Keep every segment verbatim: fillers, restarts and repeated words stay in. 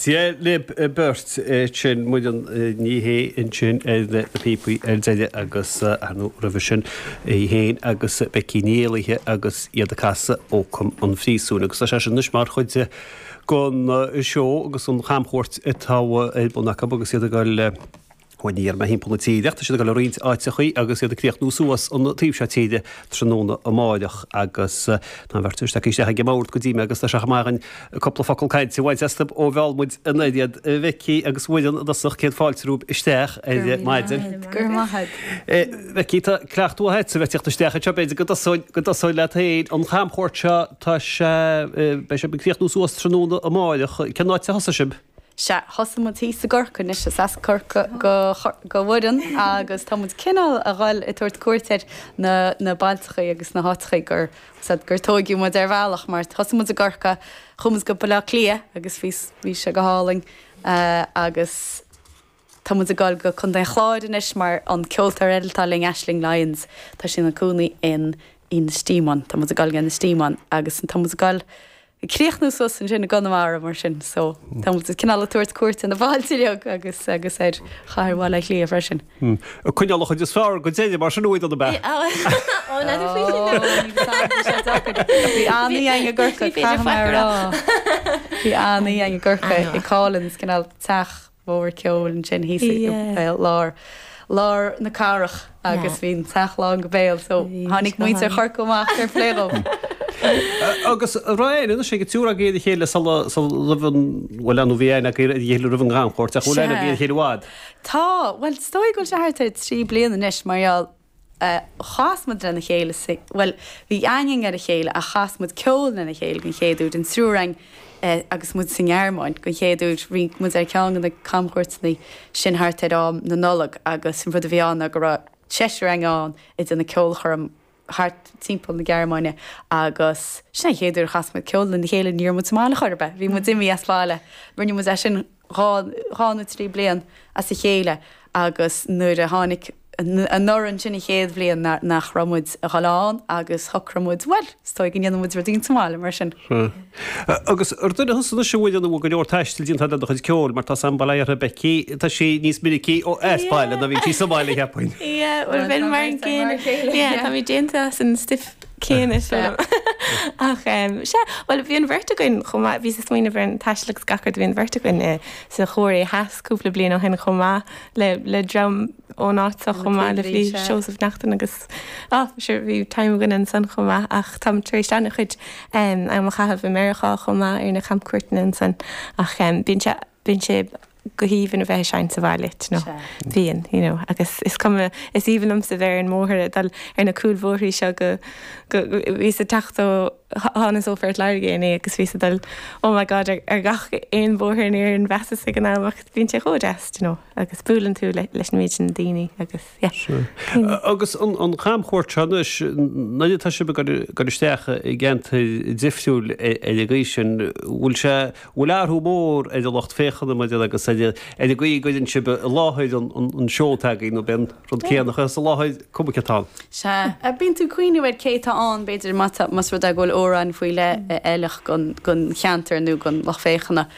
Dia libh beirt. Sin Muireann Ní Shé ansin ar na píopaí ar deireadh agus ar ndóigh roimhe sin í féin agus Becky Ní Éallaithe agus iad ag casadh Ócam an Phríosúin. Agus tá sé sin anois mar chuid den seó agus an chamchuairt atá ar bun acu agus iad ag dul bhuel ní dhéarfaidh mé thimpeall na tíre ach tá siad ag dul i roinnt áiteachaí agus iad ag críochnú suas an taobh seo tíre tráthnóna amáireach agus tá an bheirt isteach isteach ag an mbord go dtí mé agus tá sé chomh maith againn cúpla focal cainte a bhaint astu ó mheall muid an oiread. A Bheicí agus Mhuireann i dtosach céad fáilte romhaibh isteach ar maidin. Go raibh maith agat. Bheicí, tá cleachtadh agat a bheith ag teacht isteach anseo, b'fhéidir go dtosóinn go dtosóinn leat féin. An chamchuairt seo, tá sé, beidh sibh ag críochnú suas tráthnóna amáireach. Cén áit a thosaigh sibh? Sea, thosaigh muid thíos i gCorcaigh anois, is as Corcaigh do do Mhuireann agus tá muid cineál a dhul ag tabhairt cuairt ar na na bailteachaí agus na háiteachaí gur said gur tóigeadh muid ar bhealach mar thosaigh muid i gCorcaigh, chuaigh muid go Baile Átha Cliath agus bhí bhí sé go hálainn agus tá muid ag dul go Contae an Chláir anois mar an ceoltóir eile atá linn, Aisling Lyons, tá sí ina cónaí in Ennistymon, tá muid ag dul go Ennistymon agus tá muid ag dul ag críochnú suas ansin i gConamara mar sin so tá muid cineál ag tabhairt cuairt ar na bailte uilig agus agus ar chathair Bhaile Átha Cliath freisin. Ag coinneáil an chuid is fearr go deireadh mar sin uaidh an ab ea? Ó n'fheadar faoi sin nó. Bhí an-oíche againn i gCorcaigh, caithfidh mé a rá. Bhí an-oíche againn i gCorcaigh i Collins, cineál teach mhór ceoil ansin thíos i lár lár na cathrach agus bhí an teach lán go béal so tháinig muintir Chorcaí amach fair play dóibh. Agus Ryan, anois ag an triúr agaibh ar a chéile sula roimh an, bhuel nó bhí aithne agaibh ar a chéile roimh an gcamchuairt ach bhfuil aithne agaibh ar a chéile i bhfad? Tá, bhuel is dóigh go bhfuil sé thart ar trí bliana anois mar gheall chas muid lena chéile sa, bhuel bhí aithne againn ar a chéile ach chas muid ceol lena chéile den chéad uair, an triúr againn agus muid sa nGearmáin den chéad uair. Rinne muid ar cheann de na camchuairteanna sin thart ar am na Nollag agus an rud a bhí ann ná go raibh seisear againn ann ag déanamh ceolchoirm thart timpeall na Gearmáine agus sin an chéad uair a chas muid ceol lena chéile, ní raibh muid sa mbaile chor ar bith, bhí muid imithe as baile. Rinne muid é sin dhá, dhá nó trí bliain as a chéile agus nuair a tháinig anuraidh ansin an chéad bhliain nach raibh muid a dhul ann agus shocraigh muid, bhuel, is dóigh go ndéanfaidh muid rud éigin sa mbaile mar sin. Agus ar duine thusa anois a bhfuil an bhfuil go leor taistil déanta le do chuid ceoil mar tá sam bail ó Dhia uirthi Becky, tá sí níos minicí ó as baile ná bhíonn sí sa mbaile cheapfainn. Yeah, bhuel bheinn mar an gcéanna. Yeah, tá mé déanta as an stuif céanna sílim. Ach sea, bhuel bhí an bheirt againn chomh maith, bhíos ag smaoineamh ar an taisteal agus gach rud, bhí an bheirt againn sa Chóiré Theas cúpla bliain ó shin chomh maith le le dream ón áit seo chomh maith le bhí Seosamh Neachtain agus ah sure bhí time againn ansan chomh maith ach táim tar éis an-chuid am a chaitheamh i Meiriceá chomh maith ar na camchuairteanna ansan ach bíonn sé bíonn sé go haoibhinn a bheith ag seinnt sa bhaile, you know. Bíonn, you know, agus is cuma, is aoibhinn liomsa bheith ar an mbóthar ag dul ar na cúlbhóithrí seo go, go, bhíos ag teacht ó, thánas ó Phort Láirge inné agus bhíos ag dul, oh my God, ar, ar gach aon bóthar in Éirinn mheasas ag an am ach bíonn sé chomh deas, you know, agus buaileann tú le, leis an méid sin daoine agus, yeah. Sure. Agus an, an chamchuairt seo anois, nuair atá sibh ag dul isteach i gceantair difriúil ar an gcaoi sin, bhfuil sé, bhfuil athrú mór ar an lucht féachana maidir agus ar an gcaoi a gcuireann sibh i láthair an seó atá agaibh nó b'é an rud céanna a chur i láthair cuma cé atá ann. Sea. Bíonn tú ag cuimhneamh ar cé atá ann, b'fhéidir, má tá, más rud é go bhfuil amhráin faoi leith a fheilfeadh don cheantar nó don lucht féachana.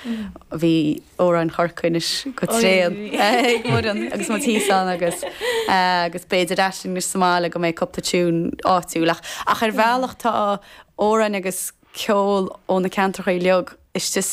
Bhí amhráin Chorcaí anois go tréan ag Muireann agus muid thíos ann agus agus b'fhéidir Aisling anois sa mbaile go mbeidh cúpla tiún áitiúil ach ach ar bhealach tá amhráin agus ceol ó na ceantracha uilig istigh